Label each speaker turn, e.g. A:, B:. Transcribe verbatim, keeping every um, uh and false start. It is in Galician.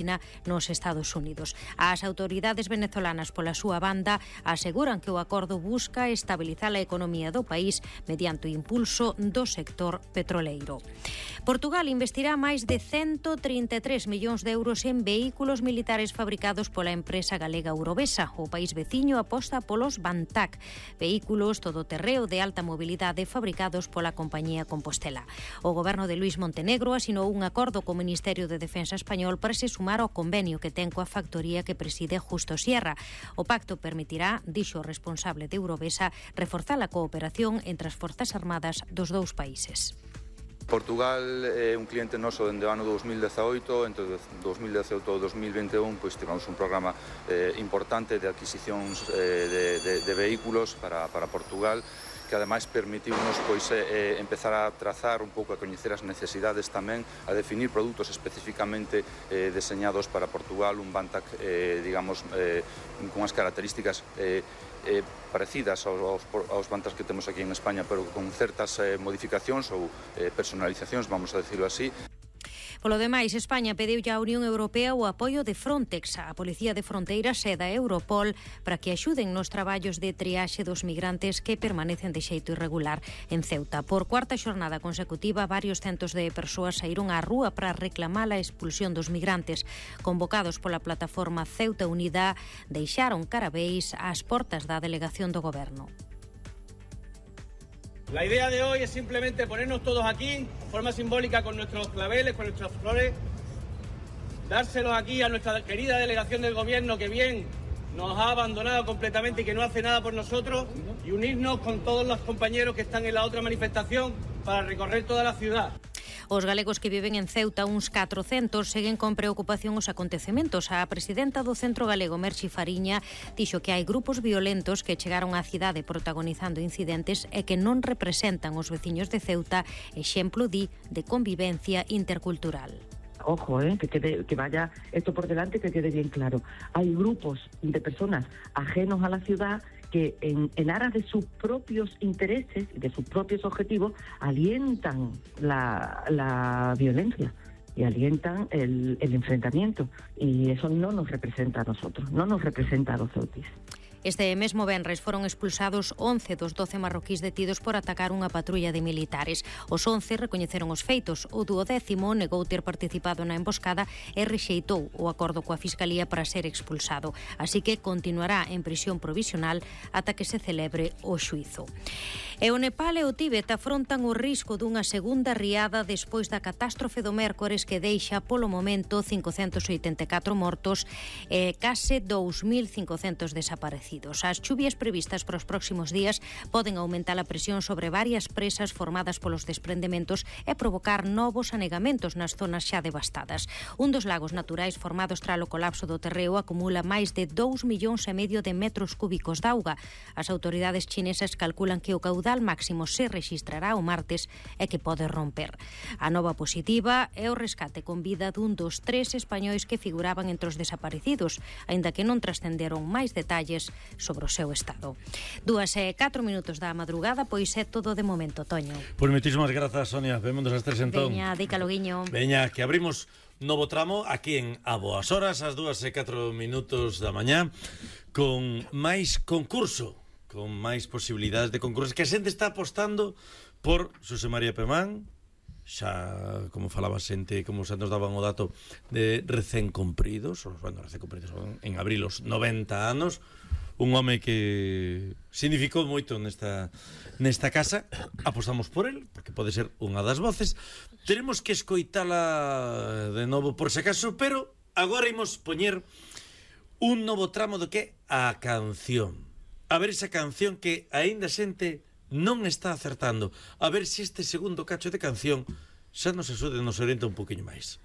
A: nos Estados Unidos. As autoridades venezolanas, pola súa banda, aseguran que o acordo busca estabilizar a economía do país mediante o impulso do sector petroleiro. Portugal investirá máis de ciento trinta e tres millóns de euros en vehículos militares fabricados pola empresa galega Eurovesa. O país veciño aposta polos Bantac, vehículos todoterreo de alta mobilidade fabricados pola compañía Compostela. O goberno de Luís Montenegro asinou un acordo co Ministerio de Defensa español para se sumar ao convenio que ten coa factoría que preside Justo Sierra. O pacto permitirá, dixo o responsable de Eurovesa, reforzar a cooperación entre as Forzas Armadas dos dous países.
B: Portugal é un cliente noso dende o ano dos mil dezaoito, entre dos mil dezaoito e dos mil vinte e un pois tivemos un programa eh, importante de adquisicións eh, de, de, de vehículos para, para Portugal, que ademais permitiu-nos pois, eh, empezar a trazar un pouco, a coñecer as necesidades tamén, a definir produtos especificamente eh, deseñados para Portugal, un Bantac, eh, digamos, eh, con as características eh, eh, parecidas aos, aos Bantacs que temos aquí en España, pero con certas eh, modificacións ou eh, personalizacións, vamos a decirlo así.
A: Polo demais, España pediu á Unión Europea o apoio de Frontex, a Policía de Fronteiras e da Europol, para que axuden nos traballos de triaxe dos migrantes que permanecen de xeito irregular en Ceuta. Por cuarta xornada consecutiva, varios centos de persoas saíron á rúa para reclamar a expulsión dos migrantes. Convocados pola plataforma Ceuta Unida, deixaron carabeis ás portas da delegación do Goberno.
C: La idea de hoy es simplemente ponernos todos aquí, de forma simbólica, con nuestros claveles, con nuestras flores, dárselos aquí a nuestra querida delegación del Gobierno, que bien nos ha abandonado completamente y que no hace nada por nosotros, y unirnos con todos los compañeros que están en la otra manifestación para recorrer toda la ciudad.
A: Os galegos que viven en Ceuta, uns catrocentos, seguen con preocupación os acontecementos. A presidenta do Centro Galego, Merchi Fariña, dixo que hai grupos violentos que chegaron á cidade protagonizando incidentes e que non representan os veciños de Ceuta, exemplo, di, de convivencia intercultural.
D: Ojo, eh, que, quede, que vaya esto por delante, que quede bien claro. Hay grupos de personas ajenos a la ciudad que en, en aras de sus propios intereses y de sus propios objetivos alientan la, la violencia y alientan el, el enfrentamiento. Y eso no nos representa a nosotros, no nos representa a los ceutis.
A: Este mesmo venres foron expulsados once dos doce marroquíes detidos por atacar unha patrulla de militares. Os once recoñeceron os feitos. O duodécimo negou ter participado na emboscada e rexeitou o acordo coa Fiscalía para ser expulsado. Así que continuará en prisión provisional ata que se celebre o xuízo. E o Nepal e o Tíbet afrontan o risco dunha segunda riada despois da catástrofe do mércores que deixa polo momento cincocentos oitenta e catro mortos e case dous mil cincocentos desaparecidos. As chuvias previstas para os próximos días poden aumentar a presión sobre varias presas formadas polos desprendementos e provocar novos anegamentos nas zonas xa devastadas. Un dos lagos naturais formados tras o colapso do terreo acumula máis de dous millóns e medio de metros cúbicos de auga. As autoridades chinesas calculan que o caudal máximo se rexistrará o martes e que pode romper. A nova positiva é o rescate con vida dun dos tres españois que figuraban entre os desaparecidos, aínda que non trascenderon máis detalles sobre o seu estado. Dúas e catro minutos da madrugada, pois é todo de momento, Toño.
E: Pois moitísimas grazas, Sonia. Vémonos as tres entón.
A: Veña, dícalo, guiño.
E: Veña, que abrimos novo tramo aquí en A Boas Horas, ás dúas e catro minutos da mañá, con máis concurso, con máis posibilidades de concursos, que a xente está apostando por Xosé María Pemán, xa, como falaba xente, como xa nos daban o dato de recén cumpridos, os, bueno, recén cumpridos en abril os noventa anos, un home que significou moito nesta, nesta casa. Apostamos por el, porque pode ser unha das voces. Teremos que escoitala de novo por se acaso, pero agora imos poñer un novo tramo do que a canción. A ver esa canción que aínda xente non está acertando. A ver se este segundo cacho de canción xa nos axude, nos orienta un poquinho máis.